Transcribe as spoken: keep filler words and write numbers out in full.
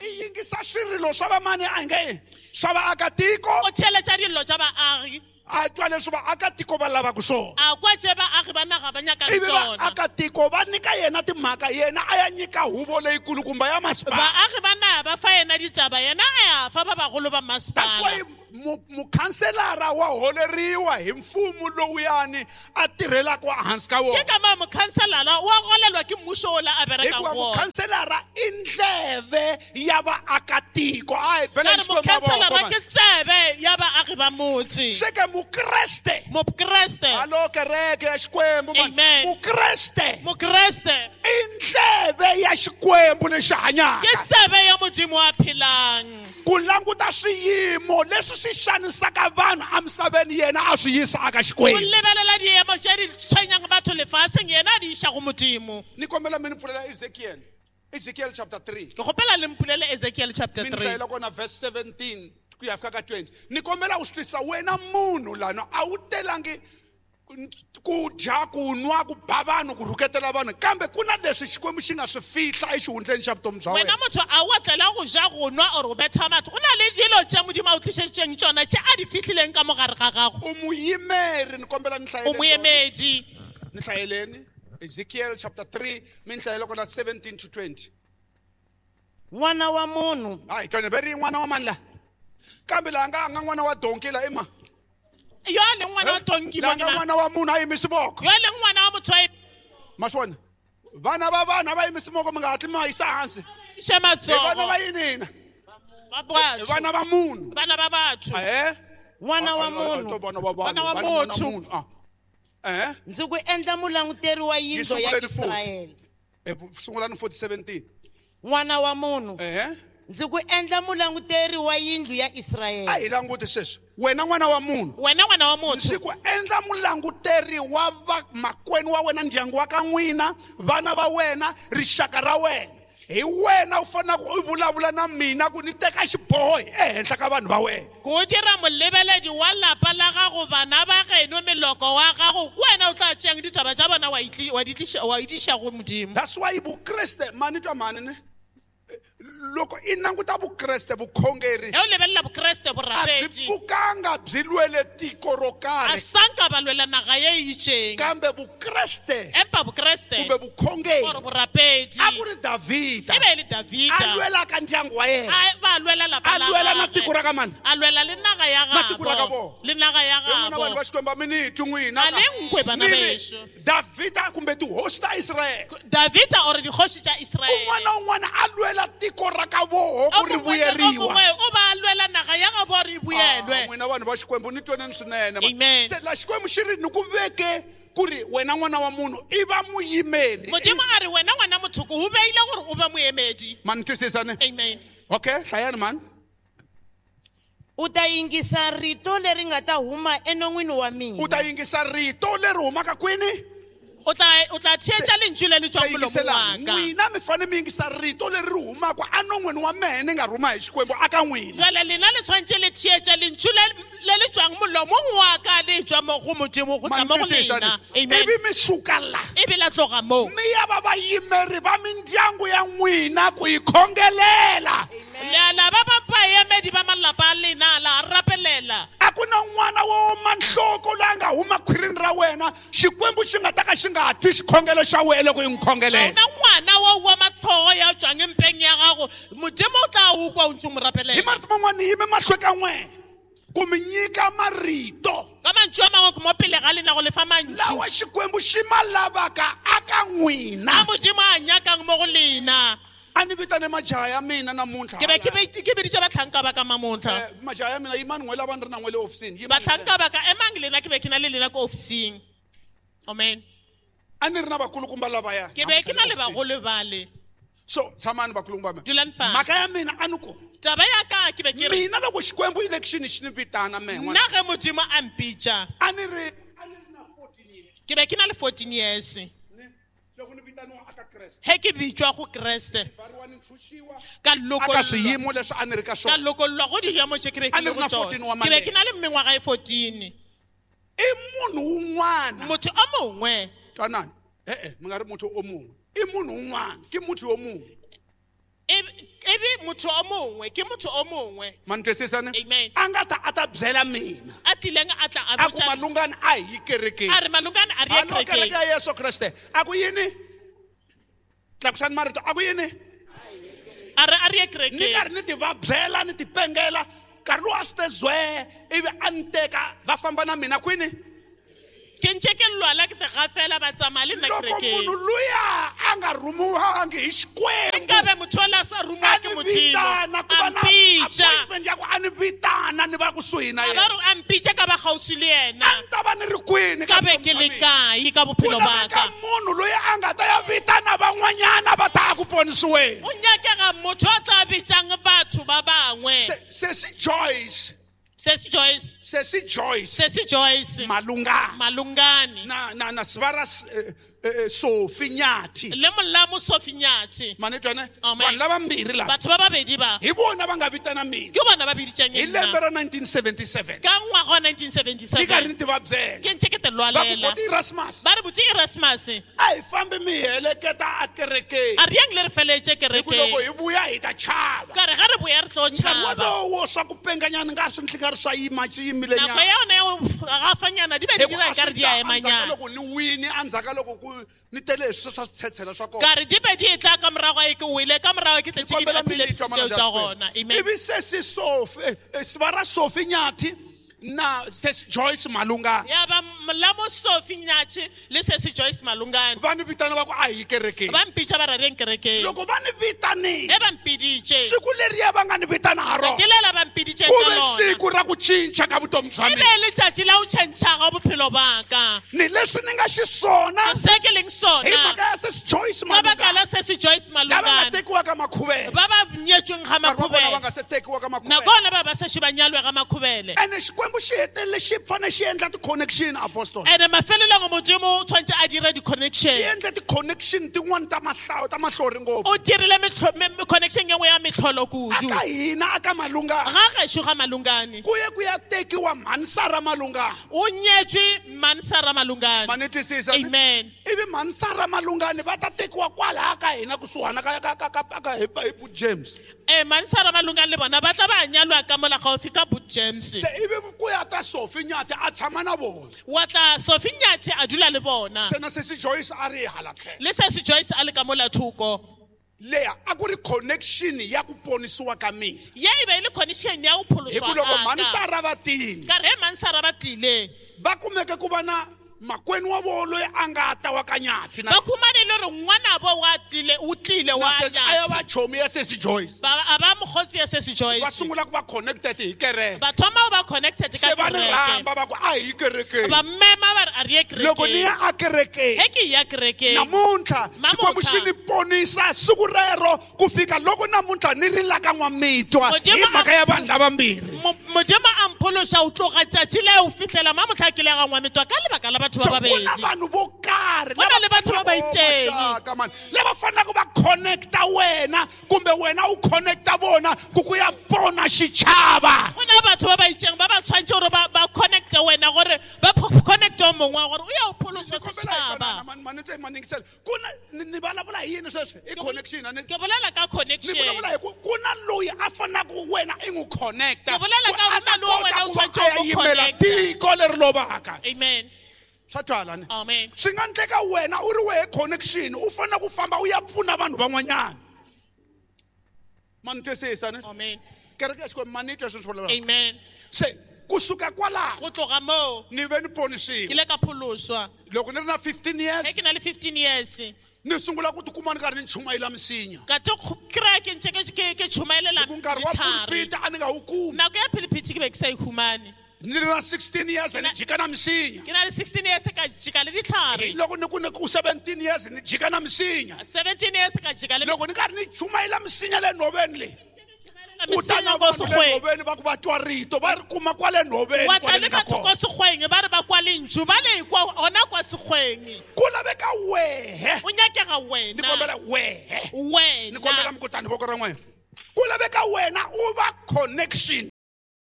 I yingisa swirilo swa vamani a nge swa vaakatiko. O theeletša dillo tša baagi. A twa leswi vaakatiko va lavaka swona. A kwa tše baagi ba naga ba nyakang Ivi tšona. vaakatiko va nyika yena timhaka, yena a ya nyika huvo leyikulukumba ya masipala. Baagi ba naga ba fa yena ditaba, yena a ya fa ba bagolo ba That's masipala. why mu-, mukhanselara wa holeriwa hi mfumo lowuyani a tirhelaka ehansi ka wona. Ke ka moo mukhanselara wa golelwa ke mmušo ola a berekang Hikuva go wona. mukhanselara i ndleve ya vaakatiko. A hi bela Ka re Xikwembu mavoko, mukhanselara man. ke tsebe ya baagi ba motse. Se ke Mukreste. Mukreste. Hallo, kereke ya Xikwembu, man. Amen. Mukreste. Mukreste. I ndleve ya Xikwembu lexi hanyaka. Ke tsebe ya Modimo a phelang. Ku languta swiyimo leswi swi xanisaka vanhu emisaveni, yena a swi yisa aka Xikwembu. Ku lebelela diemo tše di tshwenyang batho lefaseng, yena a di iša go Modimo. Ni kombela mi ni pfulela Ezekiel. Ezekiel chapter three. Ke kgopela le mpulele Ezekiel chapter Mi ni three. hlayela kona verse seventeen ku ya fika ka twenty. Ni kombela u swi twisisa wena munhu lana a wu telangi ku dya, ku nwa, ku ba vanhu, ku rhuketela vanhu, kambe ku na leswi Xikwembu xi nga swi fihla exihundleni xa vutomi bya Wena wena. motho a wa tlela go ja, go nwa or go betha batho. Go na le dilo tše Modimo a o tlišeditšeng tšona tše a di fihlileng ka mogare ga gago. U muyimeri, ni kombela ni hlayeleni O moemedi. Ni hlayeleni Ezekiel chapter three, mi ni hlayela kona seventeen to twenty. N'wana wa munhu. Hayi, twana, ve ri n'wana wa mani la? Kambe laha nga, nga n'wana wa donki la i ma? Yo a leng ngwana wa tonki Laha mo nga ke ma? n'wana wa munhu a yimisi voko. Yo a leng ngwana wa motho a yimisi Ma swi vona? Vana va vanhu a va yimisi moko, mi nga hatli mi va yisa hansi. Xe Hi vana matsoho. va yini hina? Ba batho. Hi vana va munhu. Vana va batho. Ahee. N'wana wa A, a, a, munhu. to vana va vanhu. N'wana wa Vana va motho. munhu. Ah. Eh? Ndzi ku endla mulanguteri wa yindlu ya Yi sunguleni futhi. Israyele. Eh, sungulani forty seventeen. N'wana wa munhu. Eh? Ndzi ku endla mulanguteri wa yindlu ya Israyele. A hi languti sweswi. Wena n'wana wa munhu. Wena n'wana wa motho. Ndzi ku endla mulanguteri wa va makwenu wa wena, ndyangu wa ka n'wina, vana va wena, rixaka ra wena. Hi wena u faneleke u vulavula na mina ku ni teka xiboho ehenhla ka vanhu va wena. Ku dira molebeledi wa lapa la gago, bana ba geno, meloko wa gago, ke wena o tla tšeang ditaba tša bona wa itli-, wa di tliša, wa di tliša go Modimo. That's why Vukreste, mani twa mani ne? Loko i languta Vukreste, vukhongeri, Ge o lebelela Bokreste, a byi borapedi, pfukanga byi lwele tiko ro karhi. A sanka ba lwela naga ye e itšeng. Kambe Vukreste, Empa Bokreste, kumbe vukhongeri, or borapedi, a ku ri Davhida. E be e le Davida. A lwelaka ndyangu wa yena. A ba lwela lapa A la lwela na gagwe. tiko ra ka mani? A lwela le naga ya Na tiko ra ka gabo. vona. Le naga ya Hi n'wina gabo. vanhu va Xikwembu, a mi ni twi n'wina. A le nkwe bana Ni ri, bešo. Davhida kumbe tihosi ta Israyele. Davida or dikgoši tša Israele. Un'wana na un'wana a lwela tiko ra ka voho ku ri O mongwe le o vuyeriwa. mongwe o ba lwela naga ya gabo re e boelwe. Ah, n'wina vanhu va Xikwembu, ni twaneni swinene, man. Amen. Se la Xikwembu xi ri ni ku veke ku ri wena n'wana wa munhu i va muyimeri. Modimo a re wena ngwana motho ko o beile gore o be moemedi. Ma ni twisisa ne? Amen. Okay, hlayani mani. U ta yingisa rito leri nga ta huma enon'wini wa mina. U ta yingisa rito leri humaka kwini? O tla, o tla theetša lentšu le le tswang molomong Yingisela, wa ka. n'wina mi fanele mi yingisa rito leri ri humaka enon'wini wa mehe ni nga rhuma hi Xikwembu aka n'wina. Jwale lena le tshwanetse le theetše lentšu le, le le tswang molomong wa ka le tswa mo go Modimo go tla mo go Mantwisisa lena. ni? Amen. Ivi mi suka la. Ivi la tloga moo. Mi ya va vayimeri va mindyangu ya n'wina ku yi khongelela. La, la ba ba baemedi ba malapa a lena, la rapelela. A ku na n'wana wo oma nhloko loyi a nga huma khwirini ra wena, Xikwembu xi nga ta ka xi nga twi xikhongelo xa wena loko i n'wi khongelela. Ha hona ngwana wo oma tlhogo ya tswang mpeng ya gago, Modimo o tla o kwa o ntse o mo rapelela. Hi marito man'wana ni yime mahlweni ka n'wina ku mi nyika marito. Ka mantšu a mangwe ke mo pele ga lena go le fa mantšu. Lawa Xikwembu xi ma lavaka aka n'wina. A Modimo a nyakang mo go lena. A ni vitane majaha ya mina namuntlha. Ke be ke be ke biditše bahlanka ba ka mamontlha. Eh, majaha ya mina, yimani n'we lava ni ri na n'we le ofisini. Yimani Bahlanka ba ka, emang lena ke be ke na le lena ko ofising. Amen. A ni ri na vakulukumba lavaya. Ke be ke na le bagolo bale. So, tshamani vakulukumba mina. Dulang fatshe. Mhaka ya mina a ni ku. Taba ya ka ke be ke re. Mina loko Xikwembu election xi ni vitana mehe n'wana. Nna ge Modimo a mpitša. A ni ri, a ni ri na fourteen years. Ke be ke na le fourteen years. Ne? Loko ni vitaniwa aka Kreste. He ke bitšwa go Kreste. Ba re wa ni ntshunxiwa. Ka Aka lokollwa. swiyimo leswi a ni ri ka Ka swona. lokollwa go diemo tše ke be ke A ni le ri go na tsona. fourteen wa Ke be ke malembe. na le mengwaga e fourteen. I munhu un'wana. Motho o mongwe. Twanani. E-e, mi nga ri motho o mongwe. I munhu un'wana. Ke motho yo mongwe. E, e be motho o mongwe ke motho o mongwe. Ma ni twisisa ni? Amen. A nga ta a ta byela mina. A tlileng a tla a A ku botša- malungani a hi yi kerekeni. A re malungane a re ye Alo kereke kerekeng. ya Yesu Kreste. A ku yini? Tlakusani marito, a ku yini? A re a re ye Ni kerekeng. karhi ni ti vabyela ni ti pengela nkarhi lowu a swi te zwee ivi a ni teka va famba na mina kwini. Ke ntse ke lwala ke te gafela ba tsamaya le nna Loko kerekeng. munhu luya a nga rhumiwangi hi Xikwembu, Nkabe motho ola a sa rungwa a ke ni Modimo, vitana ku a va na mpitša. appointment ya ku a ni vitana ni va kusuhi na A ba yena. re a mpitša ka ba kgauswi le yena. A ni ta va ni ri kwini ka Ka be ke vutomi bya le mina? kae ka Ku bophelo ba laveka ka? munhu loyi a nga ta ya vitana van'wanyana va ta ku ponisiweni. O nyakega motho a tla bitsang batho ba bangwe. Se- Sesi Joyce, Sesi Joyce, Sesi Joyce Sesi Joyce Malungani Malungane na na na Sivara eh, eh, Sophie Nyathi. le molamo Sophie Nyathi. Ma ni twa ne? Amen. Vanhu lavambirhi lava Batho ba babedi ba hi vona va nga vitana mina ke bona ba biditseng hi nna. lembe ra nineteen seventy-seven. Ka ngwaga wa nineteen Ni karhi seventy-seven ni ti va byela. ke ntse ke te Va ku lwalela. Boti Erasmus, Ba re botse Erasmus, a hi fambi mi hi heleketa akerekeni. a re yang le re feletse Hi ku loko kerekeng. hi vuya hi ta chava. Ka re ga re boya re tlo Nkarhi tšhaba. wolowo swa ku penganyana nga swi nga ri swa yima swi yimile Nako nyana. ya yona ya go gafanyana di be Hi di ku dira a ka re swi di ta a endzhaku ka emanyana. loko ni wini endzhaku ka loko ku ni tele hi swilo swa switshetshela swa kona. Ka re di be di etla ka morago e ke wele ka morago ke tletse ke Kombela mi ni di-epilepsy twa tseo mana tša Jasper. gona. Amen. Ivi sesi Sophie, eh, eh, Sivara Sophie Nyathi na sesi Joyce Malungani Ya ba molamo Sophie Nyathi le sesi Joyce Malungane va ni vitana va ku a hi kerekeni. ba mpitša ba ra reng kerekeng. Loko va ni vitanile, E ba mpiditše siku leriya va nga ni vitana ha rona tšatši lela ba mpiditšeng ku ka ve lona siku ra ku cinca ka vutomi bya e mina. be letšatši la go tšhentšha ga bophelo ba ka. Ni leswi ni nga xiswona Se ke leng hi sona mhaka ya sesi Joyce ka baka Malungane la sesi Joyce lava nga Malungane tekiwa ka Makhuvele. ba ba nyetsweng ga Nkarhi wa kona va Makhubele. nga se tekiwa ka Makhuvele. Nakona ba ba sešo ba nyalwe ga Makhubele. Ene Xikwembu xi hetelele xi fane xi endla ti-connection apostol. Ene mafelelong Modimo o tshwanetse a dire Xi di-connection. endle ti-connection tin'wani ta mahlawu ta mahlori ngopfu. O dirile metlho- me- me- connection ye nngwe ya metlholo kudu. Aka hina aka Malungane Ga gešo ga Malungane ku ye ku ya tekiwa Mhanisara Malungane. o nyetswe Mhanisara Malungane. Ma ni twisisa? Amen. Ivi Mhanisara Malungane va ta tekiwa kwalaya ka hina kusuhana ka ka ka ka ka hi hi Boot James. Ee, Mhanisara Malungane le bona ba tla ba nyalwa ka mola gaufi ka Boot James. Se ivi ku ya ta Sophie Nyathi a tshama na vona. Wa tla Sophie Nyathi a dula le bona. Se na sesi Joyce a ri hala tlhelo. Le sesi Joyce a le ka mola thoko. Leya a ku ri connection ya ku ponisiwa ka mina. Ye e be e le connection ya go Hi pholoswa ku loko ga ka. Mhanisara va tini Ka re Mhanisara ba tlile va kumeke ku va na makwenu wa vona loyi a nga ta wa ka Nyathi na ba khumane le gore ngwanabo wa tlile o tlile wa na sesi a ya Nyathi. va chomi ya sesi Joyce. Ba a ba mokgotsi ya sesi Va Joyce. sungula ku va connected hi kereke. Ba thoma go ba connected ka Se va ni kereke. rhamba va ku a hi kerekeni. Ba mema ba re a re ye Loko ni kerekeng. ya akerekeni He ke ya kerekeng. namuntlha Namuntlha. Xikwembu xi ni ponisa siku rero ku fika loko namuntlha ni ri la ka N'wamitwa hi Modimo a- mhaka ya vanhu lavambirhi. Mo- Modimo a mphološa o tloga tšatši le o fihlela mamotlha ke le ga Ngwamitwa ka lebaka la batho So ba ku na babedi. vanhu vo karhi Go na le batho ba ba itseng. Maxaka, man. Lava fanelaka va connecta wena kumbe wena u connecta vona ku ku ya pona xichava. Go na batho ba ba itseng ba ba tshwanetse gore ba ba connecte wena gore ba pho- connecte o mongwe wa gore o ya o pholoswa Ni kombela hi setšhaba. twanana, man, man, ni twa hi maningisela. Ku na ni ni vulavula hi yini sweswi? I connection a ni Ke bolela ka ni connection. vulavula hi ku ku na loyi a fanelaka wena i n'wi connecta. Ke bolela ka Ku a go ta na le wa kota wena o ku va tshwanetse a ya o mo yimela connecta. tiko leri lovaka. Amen. Swa twala ni? Amen. Swi nga endleka wena u ri wehe connection u fanele ku famba u ya pfuna vanhu van'wanyana. Ma ni twisisa ni? Amen. Kereke ya Xikwembu ma ni twa sweswi swi vulavulaka. Amen. Se kusuka kwalaho Go tloga moo ni ve ni ke ponisiwa. ile ka pholoswa. Loko ni ri na fifteen years Ge ke na le fifteen years ni sungula ku tikuma ni karhi ni chumayela misinya. ka te kry-a ke ntse ke- ke ke tšhomaelela Hi ku nkarhi wa ditlhare. pulpit a ni nga wu kumi. Nako ya philipiti ke be ke sa e humane. Ni ri na sixteen years ni jika na misinya. Ke na le sixteen years ka jika le ditlhare. Loko ni ku ni ku seventeen years ni jika na misinya. Seventeen years ka jika le Loko ni karhi ni chumayela misinya le nhoveni leyi ku ta na misinya ko vanhu le sekgweng. nhoveni va ku va twa rito va ri kuma kwale nhoveni Wa tla kwale le ni nga batho ko kona. sekgweng ba re ba kwa lentšu ba le kwa gona kwa sekgweng. Ku laveka wehe O nyakega ni wena. kombela wehe ni kombela Wena. mi kutani voko ra n'wina ku laveka wena u va connection.